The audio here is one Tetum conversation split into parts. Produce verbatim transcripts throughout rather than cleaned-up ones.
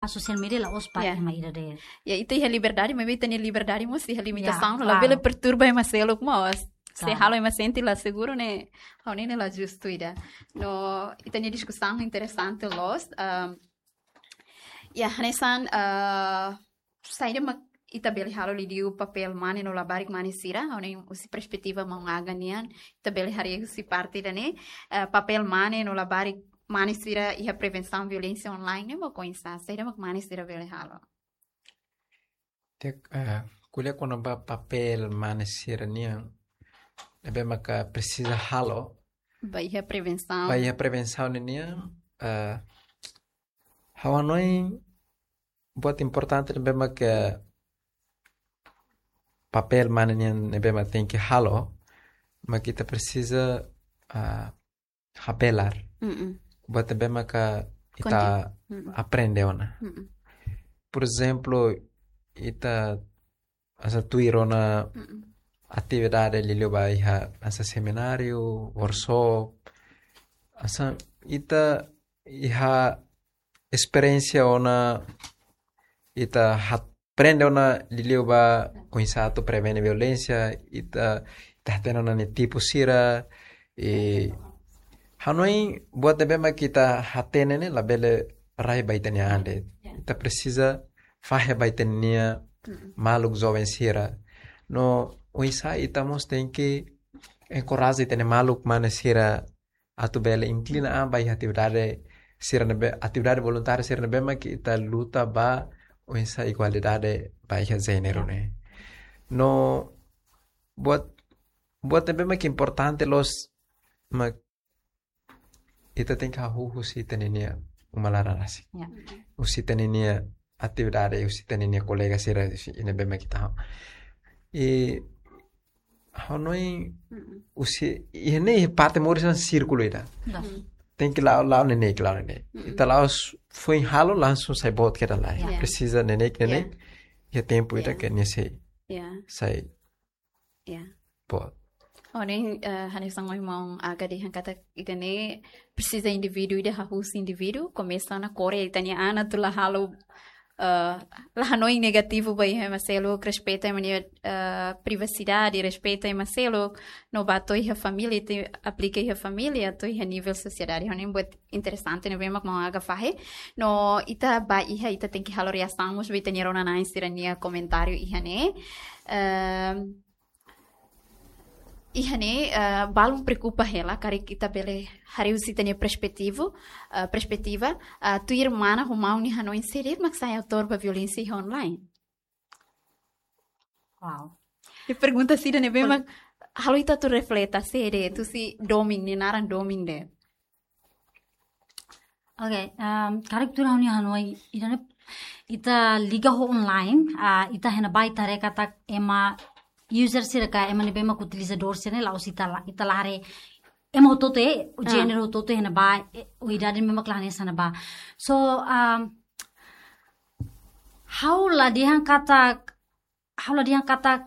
sosiál média la'ós ba Ya. ema ida de'it. Ya, ita iha liberdade, maibé ita-nia liberdade mós iha limitasaun, Ya, labele klaru. perturba ema seluk mós. Se Klaru. halo ema sente la seguru ne'e, ha'u hanoin ne'e la justu ida. No, ita-nia diskusaun interesante loos. Um, ya, hanesan, uh, saida mak ita bele halo liuliu papél mane no labarik mane sira, ha'u hanoin husi perspetiva maun Aga nian, ita bele haree husi parte ida-ne'e, uh, papél mane no labarik mane sira iha prevensaun violénsia online ne'e mak oinsá, saida mak mane sira bele halo. Ita, eh, ko'alia kona-ba papél mane sira-nian, ne'ebé maka presiza halo Ba iha prevensaun. ba iha prevensaun nian, eh, ha'u hanoin buat importante ne'ebé maka papél mane nian ne'ebé mak tenke halo, mak ita presiza, ah, habelar. Mm-mm. Buat ne'ebé maka ita Konti-, mm-mm. aprende ona. Mm-mm. Por ezemplu, ita hanesan tuir ona Mm-mm. atividade liuliu ba iha hanesan semináriu, workshop, hanesan ita iha esperiénsia ona, ita aprende ona liuliu ba oinsá atu prevene violénsia, ita, ita hatene ona nia tipu sira, i hanoin buat ne'ebé mak ita hatene ne'e labele rai ba ita-nia an de'it. Ya. Ita presiza fahe ba ita-nia Mm-mm. maluk joven sira. No oinsá ita mós tenke enkoraja ita-nia maluk mane sira atu bele inklina an ba iha atividade sira ne'ebé, atividade voluntária sira ne'ebé mak ita luta ba oinsá igualdade ba iha jéneru ne'e. No buat, buat ne'ebé mak importante loos mak ita tenke hahú husi ita-nia uma laran rasik. Ya. Husi ita-nia atividade, husi ita-nia kolega sira, husi ne'ebé mak ita halo. I hanoin Mm-mm. husi, i ne'e parte moris hanesan sírkulu ida. Dah. Mm. Tenke la'o, la'o neineik, la'o neineik. Mm-mm. Ita la'o s-, foin halo langsung sai boot kedas lai. Ya. Presiza neineik, neineik. Ya. Iha tempu ida Ya. ke nia sei, Ya. sai Ya. boot. Ha'u hanoin, eh, hanesan ohin maun Aga dehan katak ida-ne'e presiza indivíduu ida hahú husi indivíduu, komesa ona kore ita-nia an atu la halo, eh, la hanoin negativu ba iha ema seluk, respeita ema nia, eh, privasidade, respeita ema seluk, no ba to'o iha família, ita aplika iha família, to'o iha nivel sosiedade. Ha'u hanoin buat interesante ne'ebé mak maun Aga fahe. No ita ba iha, ita tenke halo reasaun mós ba ita-nia rona-na'in sira-nia komentáriu iha ne'e. Ehm, iha ne'e, eh, balun preokupa hela, karik ita bele haree husi ita-nia perspetiva, eh, perspetiva, eh, tuir mana ho maun nia hanoin, sé de'it mak sai autór ba violénsia iha online. Wow. I pergunta ida-ne'ebé Pol- mak halo ita atu refleta, sé de'it, husi domin, nia naran domin de'it. Oke, um, karik tuir ha'u-nia hanoin, ita ne'e, ita liga ho online, ah, ita iha ne'ebá ita haree katak ema user sira ka ema ne'ebé mak utilizadór sira ne'e la'ós ita la, ita la haree ema hotu-hotu, eh, o Ah. géneru hotu-hotu iha ne'ebá, eh, o idade ne'ebé mak la hanesan ne'ebá. So, um, ha'u la dehan katak, ha'u la dehan katak,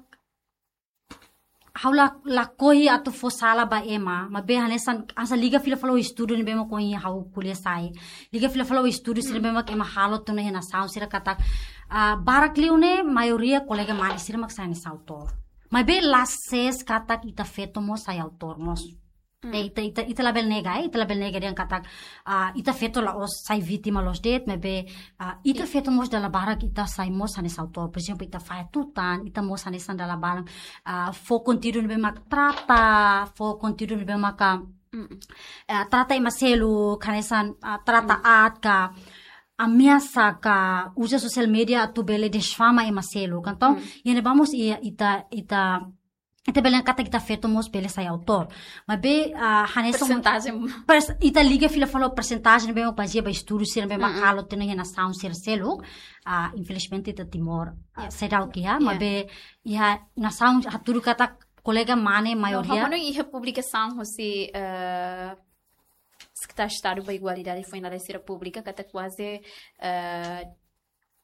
ha'u la, lakohi atu fó sala ba ema, maibé hanesan, hanesan liga fila fali ho estudu ne'ebé mak ohin ha'u ko'alia sai. Liga fila fali ho estudu sira ne'ebé mak ema halo tiha ona iha nasaun sira katak, ah, barak liu ne'e, maioria kolega mane sira mak sai hanesan autór. Maibé la sees katak ita feto mós sai autór mós. Mm. Eh, ita, ita, ita labele nega, eh, ita labele nega dehan katak, ah, ita feto la'ós sai vítima loos de'it, maibé, ah, ita I- feto mós dala barak ita sai mós hanesan autór. Por ezemplu, ita fahe tutan, ita mós hanesan dala barak, ah, fó konteúdu ne'ebé mak trata, fó konteúdu ne'ebé maka, Mm. eh, trata ema seluk, hanesan, ah, trata aat ka, ameasa ka, uza sosiál média atu bele difama ema seluk. Entaun, Mm. iha ne'ebá mós iha ita, ita, ita bele katak ita feto mós bele sai autór. Maibé, ah, hanesan Persentajen. Pers-, ita liga fila fali ho persentajen ne'ebé mak bazeia ba estudu sira ne'ebé mak Mm-mm. halo tiha ona iha nasaun sira seluk. Ah, infelizmente ita Timor, ah, Ya. seidauk iha, Ya. maibé iha nasaun hatudu katak kolega mane No, maioria. ha'u hanoin iha publikasaun husi, eh, Sekretáriu Estadu ba Igualdade foin lalais sira publika katak kuaze, eh,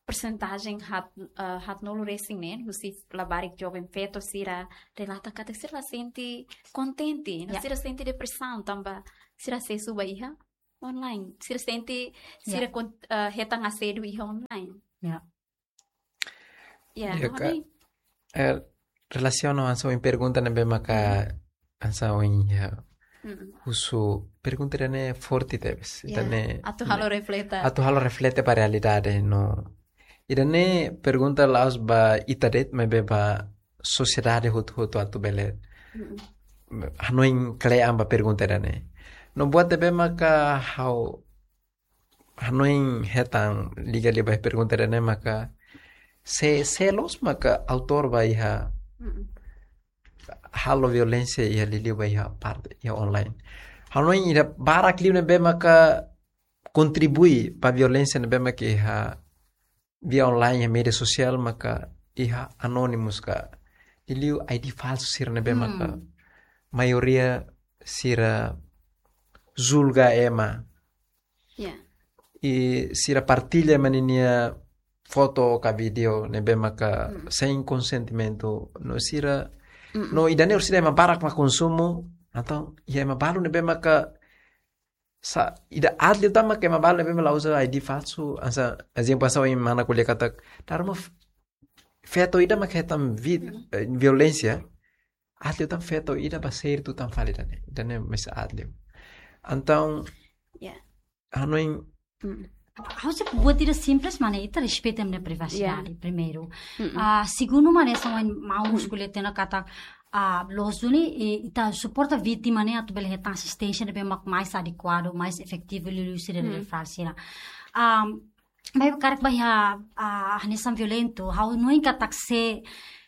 persentajen haat, eh, haatnulu resin neen husi labarik joven feto sira relata katak sira la sente kontente, no Ya. sira sente depresaun tanba sira asesu ba iha Online. Sira sente, sira Ya. kon-, ah, hetan asédiu iha online. Ya. Ya, Ya, ka, hanoin. eh, relasiona hanesan ohin pergunta ne'ebé maka Mm-mm. hanesan ohin iha Mm-mm. husu pergunta ida-ne'e forte tebes. Ya, Ida-ne'e atu halo refleta. atu halo reflete ba realidade no. Ida-ne'e pergunta la'ós ba ita de'it maibé ba sosiedade hotu-hotu atu bele Mm-mm. hanoin kle'an ba pergunta ida-ne'e. No buat ne'ebé maka ha'u hanoin hetan liga liu ba pergunta ida-ne'e maka sé, sé loos maka autór ba iha Mm-mm. halo violénsia iha liuliu ba iha parte iha online. Hanoin ida barak liu ne'ebé maka kontribui ba violénsia ne'ebé maka iha via online, iha média sosiál maka iha anónimus ka liuliu I D falsu sira ne'ebé maka Hmm. maioria sira julga ema. Ya. I sira partilla ema ninia foto ka vídeo ne'ebé maka Mm. sein konsentimentu no sira Mm-mm. no ida-ne'e orsida ema barak mak konsumu, entaun iha ema balu ne'ebé maka sa ida aat liu tan maka ema balu ne'ebé mak la uza I D falsu, hanesan ezemplu hanesan ohin mana ko'alia katak dala ruma f-, feto ida mak hetan vi-, Mm. eh, violénsia, aat liu tan feto ida ba sériu tan fali ida-ne'e, ida-ne'e mais aat liu. Entaun Ya. hanoin Mm. Ha'u sei buat ida simples, maun, ita respeita ema nia privasidade, Ya. primeiru. Mm-mm. Ah, segundu, maun, hanesan ohin maun husu ko'alia tiha ona katak, ah, loos duni, eh, ita suporta vítima ne'e atu bele hetan asisténsia ne'ebé mak mais adekuadu, mais efetivu liuliu sira Mm. refere sira. Ah, maibé karik ba iha, ah, hanesan violentu, ha'u hanoin katak se,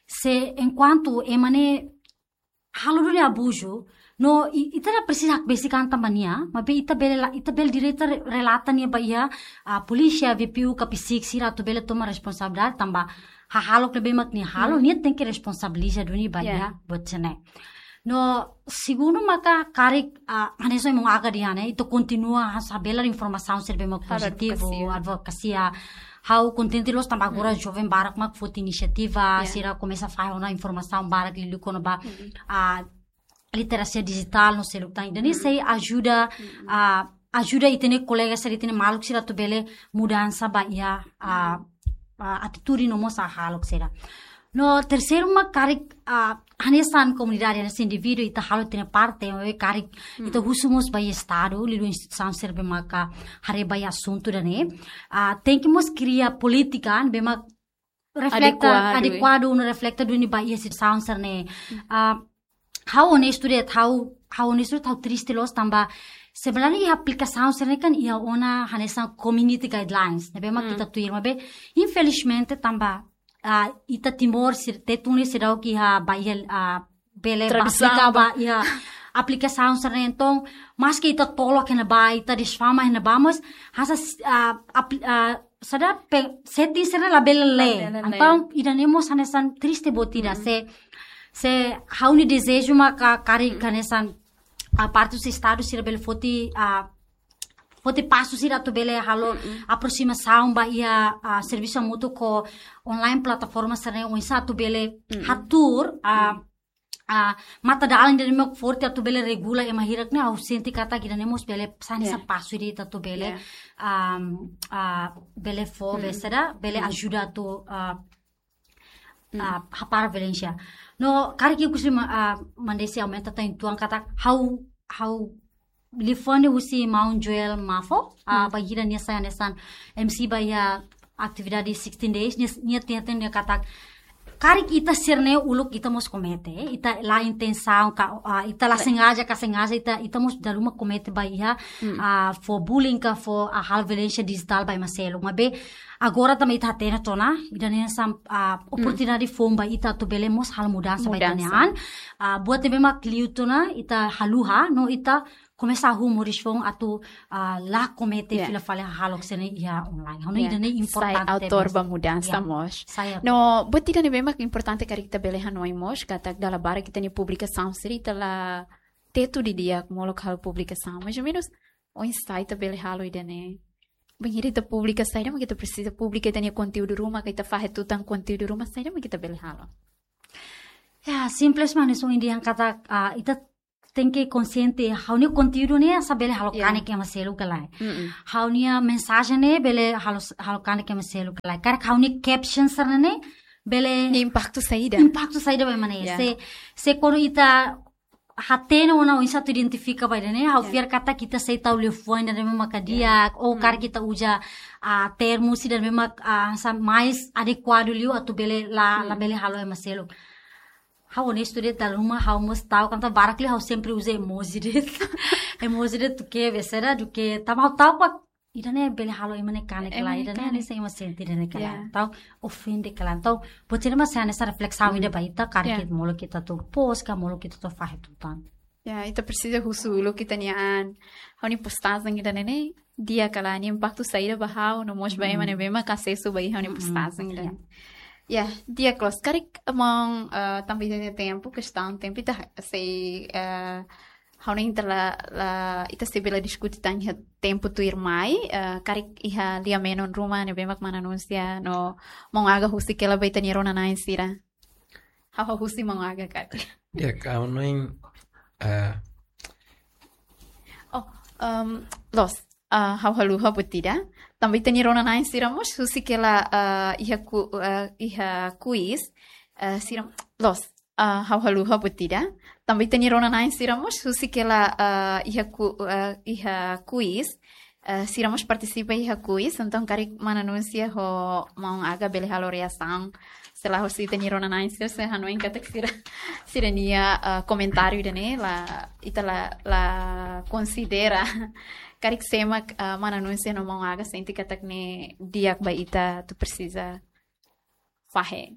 se enkuantu ema ne'e halo duni abuzu, no i-, ita la presiza hakbesik an tan ba nia, maibé ita bele la, ita bele direta re-, relata nia ba iha, ah, polísia, V P U, ka PCIC sira atu bele toma responsabilidade, tanba hahalok ne'ebé mak nia halo, Hmm. nia tenke responsabiliza duni ba Ya. iha buat sira-ne'e. No segundu maka karik, ah, hanesan ohin maun Aga dehan ne'e, ita kontinua ha-, habelar informasaun sira ne'ebé mak Halo pozitivu, advokasia. advokasia. Ha'u kontente loos tanba agora Hmm. joven barak mak foti inisiativa, Ya. sira komesa fahe ona informasaun barak liuliu kona-ba, Mm-mm. ah, literasia dijitál no seluk tan. Ida-ne'e Mm. sei ajuda, Mm-mm. ah, ajuda ita-nia kolega sira, ita-nia maluk sira atu bele mudansa ba iha, ah, ah, atitude no mós hahalok sira. No terseiru mak karik, ah, hanesan komunidade, hanesan indivíduu, ita halo ita-nia parte, maibé karik Mm. ita husu mós ba iha Estadu, liuliu instituisaun sira ne'ebé maka haree ba iha asuntu ida-ne'e. Ah, tenke mós kria polítika ne'ebé mak refleta, Adekuadu, eh. adekuadu, no refleta duni ba iha situasaun sira-ne'e. Ah, ha'u onestu de'it, ha'u, ha'u onestu de'it, ha'u triste loos tanba sebenarnya iha aplikasaun sira-ne'e kan iha ona hanesan community guidelines ne'ebé mak Hmm. ita tuir, maibé infelizmente tanba, ah, ita Timor sira, Tetun ne'e seidauk iha ba iha, ah, bele ba Tradisaun aplika ba. ba iha aplikasaun sira-ne'e. Entaun maski ita tolok iha ne'ebá, ita difama iha ne'ebá, mas hanesan, ah, apli-, ah, saida pe-, setting sira-ne'e labele lee. Labele lee. Entaun ida-ne'e mós hanesan triste buat ida. Mm-mm. Se, se ha'u-nia dezeju maka karik Mm-mm. hanesan, ah, parte husi Estadu sira bele foti, ah, foti pasu sira atu bele halo Mm-mm. aproximasaun ba iha, ah, servisu hamutuk ho online plataforma sira-ne'e oinsá atu bele Mm-mm. hatuur, ah, ah, matadalan ida-ne'e mak forte atu bele regula ema hirak ne'e, ha'u sente katak ida-ne'e mós bele sai hanesan Yeah. pasu ida atu bele, Yeah. um, ah, bele fó, Mm. be saida, bele Mm. ajuda atu, ah, Mm. ah, hapara violénsia. No, karik ita husi ma-, ah, Mandesi aumenta tan tuan katak ha'u, ha'u liafuan husi maun Joel Mafo, ah, Mm. bainhira nia sai hanesan M C ba iha atividade sixteen days, nia, nia tiha tiha nia katak karik ita sira-ne'e uluk ita mós komete, ita la intensaun ka, ah, ita la La- sengaja ka sengaja, ita, ita mós dala ruma komete ba iha, Mm. ah, fó bullying ka fó, ah, halo violénsia dijitál ba ema seluk. Maibé agora tanba ita hatene tiha ona, ida-ne'e hanesan, ah, Mm. oportunidade foun ba ita atu bele mós halo mudansa ba ita-nia Mudansa. an. Ah, buat ne'ebé mak liu tiha ona, ita haluha, no ita komesa hahú moris foun atu, ah, la komete Yeah. fila fali hahalok sira-ne'e iha online. Ha'u hanoin Yeah. ida-ne'e Sai importante autór tebes. Ba mudansa Yeah. mós. Sai autór. No, buat ida ne'ebé mak importante karik ita bele hanoin mós, katak dala barak ita-nia publikasaun sira ita la tetu didi'ak molok halo publikasaun. Mais ou menus, oinsá ita bele halo ida-ne'e. Bainhira ita publika saida mak ita presiza publika, ita-nia konteúdu ruma, ka ita fahe tutan konteúdu ruma, saida mak ita bele halo. Ya, simples maun, hanesan ohin dehan katak, ah, ita tenke konsiente, ha'u-nia konteúdu ne'e hanesan bele halo kanek ema seluk ka lae. Ha'u-nia mensajen ne'e bele halo, halo kanek ema seluk ka lae. Karik ha'u-nia caption sira-ne'e bele... Nia impaktu saida? Impaktu saida ba ema ne'e. Se, se kuandu ita hatene ona oinsá atu identifika ba ida-ne'e, ha'u fiar katak ita sei tau liafuan ida-ne'ebé maka di'ak, ou karik ita uza, ah, termus ida-ne'ebé mak, ah, hanesan mais adekuadu liu atu bele la, la bele halo ema seluk. Ha'u honestu de'it, dala ruma ha'u mós tau, katak barak liu ha'u sempre uza emoji de'it. Emoji de'it duké, besera duké, tanba ha'u tau katak ida-ne'e bele halo ema ne'e kanek ka lae, ema ne'e ida-ne'e kanek. Hanesan ema sente ida-ne'e ka lae. Entaun, ofende ka lae. Entaun, buat sira-ne'e mak hanesan reflesaun ida ba ita, karik ita molok ita atu post ka molok ita atu fahe tutan. Ya, ita presiza husu uluk ita-nia an. Ha'u-nia postajen ida-ne'e ne'e di'ak ka lae, nia impaktu saida ba ha'u, no mós ba ema ne'ebé maka asesu ba iha ha'u-nia postajen ida-ne'e. Ya, di'ak loos. Karik maun, eh, tanba ita-nia tempu, kestaun tempu, ita sei, eh, ha'u hanoin ita la, la, ita sei bele diskute tan iha tempu tuirmai, eh, karik iha lia-menon ruma ne'ebé mak mana anunsia no maun Aga husik hela ba ita-nia rona-na'in sira. Ha'u husik maun Aga karik. Ya, ha'u hanoin, eh, oh, em, loos. Ah, ha'u haluha buat ida. Tanba ita-nia rona-na'in sira mós husik hela, ah, iha ku-, ah, iha quiz, ah, sira loos. Ah, ha'u haluha buat ida. Tanba ita-nia rona-na'in sira mós husik hela, ah, iha ku-, ah, iha quiz, ah, sira mós partisipa iha quiz. Entaun karik mana anunsia ho maun Aga bele halo reasaun sei la hosi ita-nia rona-na'in sira, se hanoin katak sira, sira-nia, ah, komentáriu ida-ne'e la, ita la, la konsidera. Karik sé mak, ah, mana anunsia no maun Aga sente katak ne'e di'ak ba ita atu presiza fahe.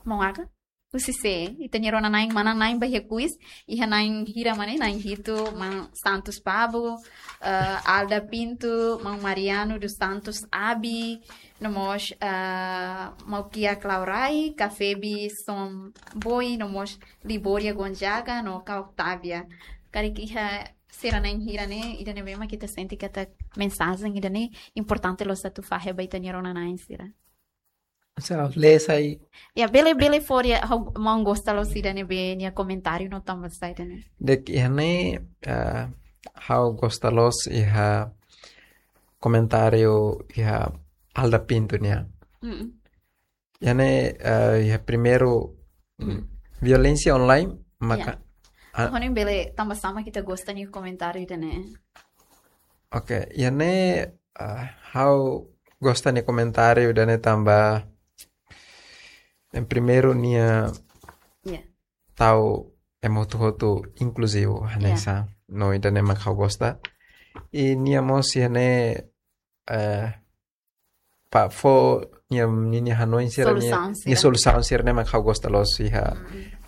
Maun Aga? Husi sé, ita-nia rona-na'in, mana na'in ba iha quiz, iha na'in hira mak ne'e, na'in hitu, maun Santos Pabo, eh, Alda Pinto, maun Mariano dos Santos Abi, no mós, eh, maun Kia Claurai, Kafebi Somboi, no mós Liboria Gonzaga, no ka Octavia. Karik iha sira na'in hira ne'e, ida-ne'ebé mak ita sente katak mensajen ida-ne'e importante loos atu fahe ba ita-nia rona-na'in sira. Sa, lee sai. Ya, bele, bele fó ya, ha'u, maun gosta loos ida-ne'ebé nia komentáriu no tanba saida ne'e. Di'ak, iha ne'e, eh, ha'u gosta loos iha komentáriu iha Alda Pinto nian. Mm. Iha ne'e, eh, iha primeiru, mm, violénsia online, maka, ah, hanoin bele tanba saida mak ita gosta nia komentáriu ida-ne'e. Oke, iha ne'e, ah, ha'u gosta nia komentáriu ida-ne'e tanba, em primeiru nia tau ema hotu-hotu inkluzivu, hanesan. No ida-ne'e mak ha'u gosta. I nia mós iha ne'e, eh, ba fó nia, ninia hanoin sira, nia, solusaun sira, nia solusaun sira-ne'e mak ha'u gosta loos iha,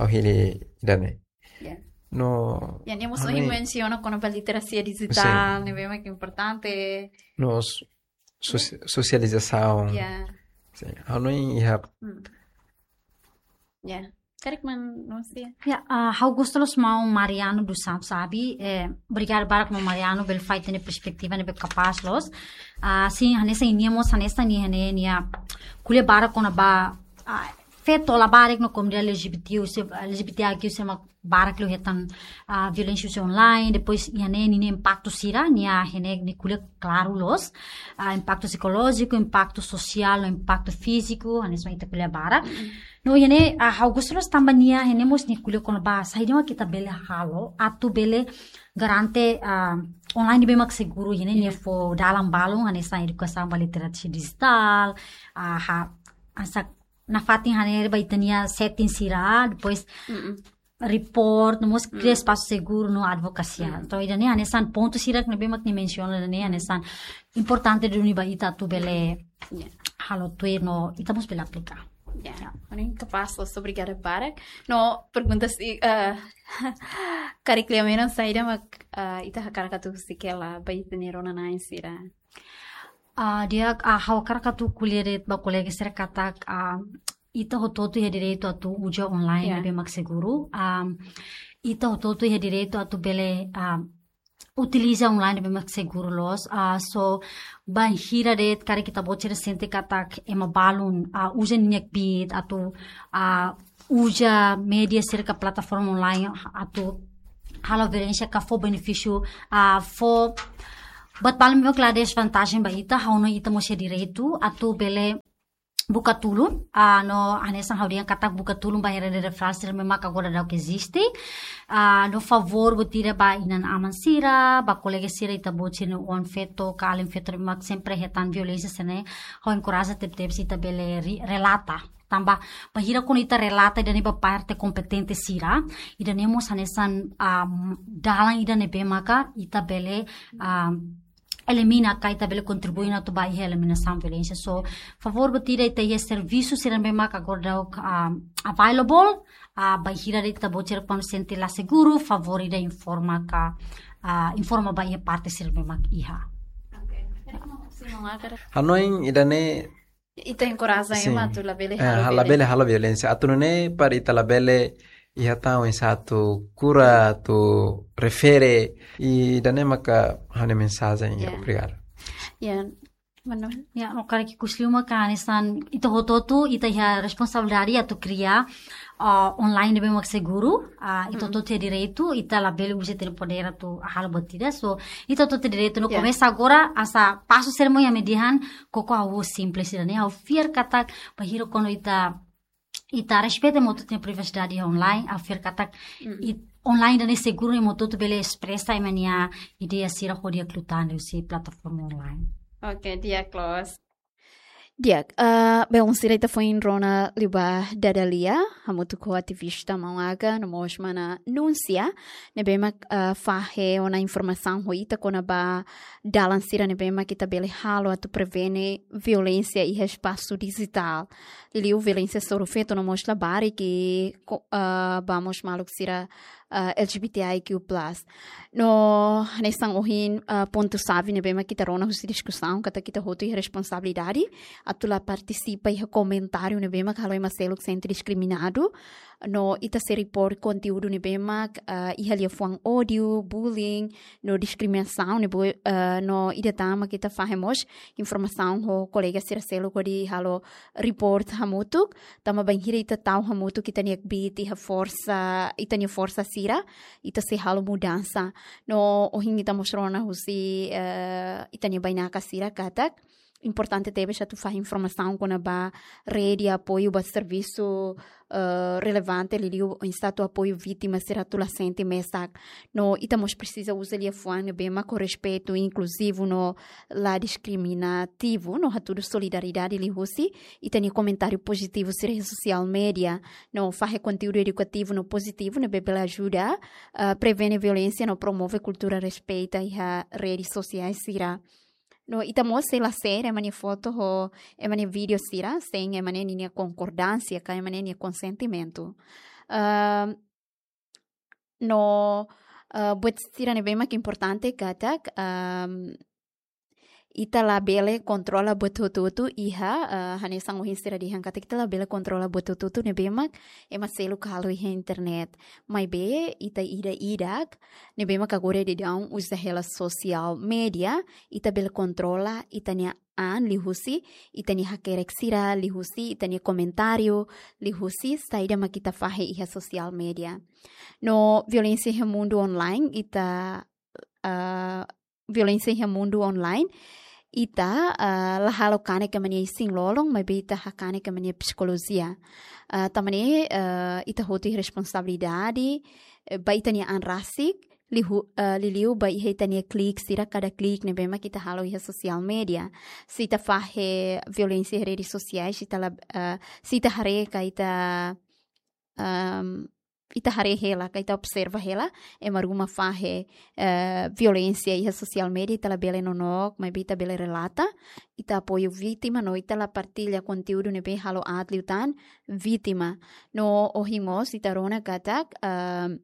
ha'u hili ida-ne'e. Ya. No, ya, nia mós hanoin mensiona kona-ba literasia dijitál, ne'ebé mak importante. No s-, sosi-, sosializasaun. Ya. Sin, hanoin iha. Mm. Ya. Karik mana anunsia? Ya, ah, ha'u gosta loos maun Mariano dos Santos Abi, eh, obrigada barak maun Mariano, bele fó ita-nia perspetiva ne'ebé kapás loos. Ah, sin, hanesan nia mós, hanesan nia, nia, nia ko'alia barak kona-ba, ah, feto labarik no komunidade L G B T, se, L G B T I Q, sé mak barak liu hetan, ah, violénsia husi online, depois iha ne'e ninia impaktu sira, nia iha ne'e nia ko'alia klaru loos, ah, impaktu psikolójiku, impaktu sosiál, no impaktu fíziku, hanesan ita ko'alia barak. Mm. No iha ne'e, ah, ha'u gosta loos tanba nia, iha ne'e mós nia ko'alia kona-ba saida mak ita bele halo atu bele garante, ah, online ne'ebé mak seguru, iha ne'e nia fó dalan balun, hanesan edukasaun ba literasia dijitál, ah, ha, hanesan nafatin hanesan ba ita-nia setting sira, depois report, no mós kria espasu seguru no advokasia. Entaun, ida-ne'e hanesan pontu sira ne'ebé mak nia mensiona, ida-ne'e hanesan importante duni ba ita atu bele halo tuir no ita mós bele aplika. Ya, hanoin kapás loos, obrigada barak. No pergunta sira, eh, karik lia-menon saida mak, eh, ita hakarak atu husik hela ba ita-nia rona-na'in sira. Ah, di'ak, ah, ha'u hakarak atu ko'alia de'it ba kolega sira katak, ah, ita hotu-hotu iha direitu atu uza online ne'ebé mak seguru. Ah, ita hotu-hotu iha direitu atu bele, ah, utiliza online ne'ebé mak seguru loos. Ah, so, bainhira de'it karik ita-boot sira sente katak ema balun, ah, uza ninia kbiit atu, ah, uza média sira ka plataforma online atu halo violénsia ka fó benefísiu, ah, fó buat balu ne'ebé la desvantajen ba ita, ha'u hanoin ita mós iha direitu atu bele buka tulun, ah, no hanesan ha'u dehan katak buka tulun ba rede referrál sira ne'ebé mak agora daudauk eziste. Ah, no favór buat ida ba inan-aman sira, ba kolega sira, ita-boot sira-nia oan-feto ka alin-feto ne'ebé mak sempre hetan violénsia sira-ne'e, ha'u enkoraja tebetebes ita bele ri-, relata. Tanba bainhira kuandu ita relata ida-ne'e ba parte kompetente sira, ida-ne'e mós hanesan, ah, dalan ida ne'ebé maka ita bele, ah, elimina ka ita bele kontribui ona atu ba iha eliminasaun violénsia. So, favór buat ida, ita iha servisu sira ne'ebé mak agora daudauk, ah, available, ah, bainhira ita-boot sira kuandu sente la seguru, favór ida informa ka, ah, informa ba iha parte sira ne'ebé mak iha. Hanoin ida-ne'e ita enkoraja, sin, ema atu labele, eh, halo, labele violénsia. Halo violénsia. Atu nune'e para ita labele iha tan oinsá atu kura, atu refere, ida-ne'e maka ha'u-nia mensajen. Ya. Obrigadu. Ya, mano. Ya, ha'u hakarak ikus liu maka hanesan ita hotu-hotu, ita iha responsabilidade atu kria, ah, online ne'ebé mak seguru, ah, ita hotu-hotu iha direitu, ita labele uza ita-nia podér atu halo buat ida. So, ita hotu-hotu iha direitu no, ya, komesa agora, hanesan pasu sira ne'ebé mak iha media nian, koko ha'u simples ida-ne'e, ha'u fiar katak, bainhira kuandu ita, ita respeita ema hotu-hotu nia privasidade online, ha'u fiar katak, mm, it-, online ida-ne'e seguru, ema hotu-hotu bele espresa ema nia ideia sira hodi aklutande husi plataforma online. Oke, di'ak loos. Di'ak, ah, belun sira, ita foin rona liubá dada lia, hamutuk ho ativista maun Aga, no mós mana Núncia, ne'ebé mak, ah, fahe ona informasaun ho ita kona-ba dalan sira ne'ebé mak ita bele halo atu prevene violénsia iha espasu dijitál. Liuliu violénsia hasoru feto no mós labarik, ko-, ah, ba mós maluk sira, ah, L G B T I Q plus. No hanesan ohin, ah, pontu xave ne'ebé mak ita rona husi diskusaun, katak ita hotu iha responsabilidade atu la partisipa iha komentáriu ne'ebé mak halo ema seluk sente diskriminadu. No ita sei report konteúdu ne'ebé mak, ah, iha liafuan ódiu, bullying, no diskriminasaun ne'ebé, ah, no ida tan mak ita fahe mós informasaun ho kolega sira seluk hodi halo report hamutuk, tanba bainhira ita tau hamutuk ita-nia kbiit iha forsa, ita-nia forsa sira, ita sei halo mudansa. No ohin ita mós rona husi, eh, ita-nia bainaka sira katak importante tebes atu fahe informasaun kona-ba rede apoiu ba servisu, eh, relevante, liuliu oinsá atu apoiu vítima sira atu la sente mesak. No ita mós presiza uza liafuan ne'ebé mak ho respeitu, inkluzivu no la diskriminativu, no hatudu solidariedade liuhusi ita-nia komentáriu pozitivu sira iha social media, no fahe konteúdu edukativu no pozitivu ne'ebé bele ajuda, ah, prevene violénsia no promove kultura respeita iha rede sosiál sira. No ita mós sei la share ema nia foto ho ema nia vídeo sira sein ema nia, ninia konkordánsia ka ema nia konsentimentu. Ah, no, ah, buat sira ne'ebé mak importante katak, ah, ita labele kontrola buat hotu-hotu iha, ah, hanesan ohin sira dehan katak ita labele kontrola buat hotu-hotu ne'ebé mak ema seluk halo iha internet. Maibé ita ida-idak ne'ebé mak agora daudaun uza hela social media, ita bele kontrola ita-nia an liuhusi ita-nia hakerek sira, liuhusi ita-nia komentáriu, liuhusi saida mak ita fahe iha social media. No violénsia iha mundu online, ita, ah, violénsia iha mundu online, ita, ah, la halo kanek ema nia isin-lolon, maibé ita hakanek ema nia psikolojia. Ah, tanba ne'e, ah, ita hotu iha responsabilidade, eh, ba ita-nia an rasik, liu-, eh, liuliu ba iha ita-nia klik sira, kada klik ne'ebé mak ita halo iha social media. Se ita fahe violénsia iha rede sosiál, se ita la, eh, se ita haree ka ita, ehm, ita haree hela, ka ita observa hela ema ruma fahe, eh, violénsia iha social media, ita labele nonook, maibé ita bele relata, ita apoiu vítima, no ita la partilla konteúdu ne'ebé halo aat liután vítima. No ohin mós ita rona katak, ehm,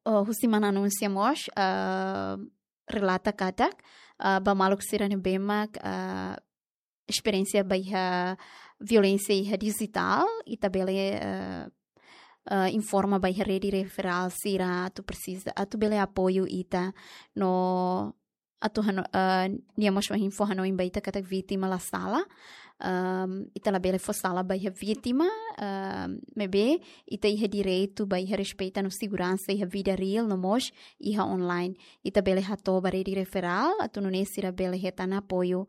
oh, husi mana Núncia mós, ah, relata katak, ah, ba maluk sira ne'ebé mak, ah, esperiénsia ba iha violénsia iha dijitál, ita bele, ah, ah, informa ba iha rede referrál sira atu presiza, atu bele apoiu ita no atu hano-, ah, nia mós fó info hanoin ba ita katak vítima la sala, Um, ita labele fó sala ba iha vítima, um, maibé ita iha direitu ba iha respeita no seguransa iha vida real no mós iha online. Ita bele hato'o ba rede referral atu nune'e sira bele hetan apoiu.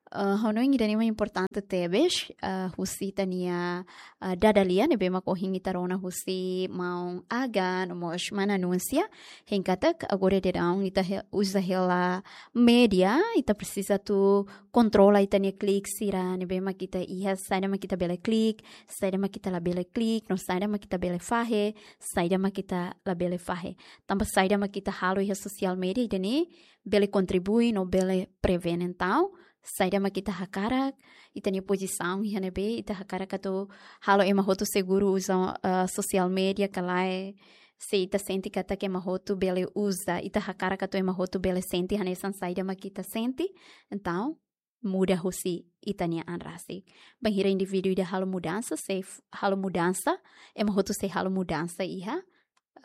Uh, hanoin ida-ne'e mak importante tebes, uh, husi ita-nia, uh, dada lia ne'ebé mak ohin ita rona husi maun Aga no mós mana Núncia, hein katak agora daudaun ita he-, uza hela média, ita presiza atu kontrola ita-nia klik sira ne'ebé mak ita iha, saida mak ita bele klik, saida mak ita labele klik, no saida mak ita bele fahe, saida mak ita labele fahe. Tanba saida mak ita halo iha sosiál média ida-ne'e bele kontribui no bele prevene. Entaun, saida mak ita hakarak, ita-nia pozisaun iha ne'ebé, ita hakarak atu halo ema hotu seguru uza, eh, sosiál média ka lae, se ita sente katak ema hotu bele uza, ita hakarak atu ema hotu bele sente hanesan saida mak ita sente, entaun muda husi ita-nia an rasik. Bainhira indivíduu ida halo mudansa, sei f-, halo mudansa, ema hotu sei halo mudansa iha,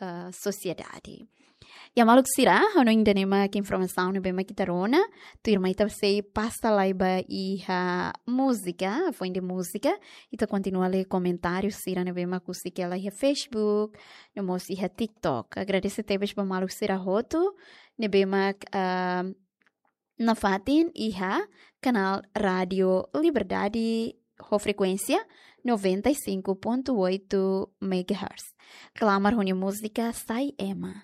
eh, sosiedade. Ya maluk sira, hanoin ida-ne'e mak informasaun ne'ebé mak ita rona, tuirmai ita sei pasa lai ba iha múzika, foin de múzika, ita kontinua lee komentáriu sira ne'ebé mak husik hela iha Facebook, no mós iha TikTok. Agradese tebes ba maluk sira hotu, ne'ebé mak, ah, nafatin iha kanál Rádio Liberdade ho frekuénsia noventa e cinco ponto oito megahertz. Klamar ho nia múzika Sai Ema.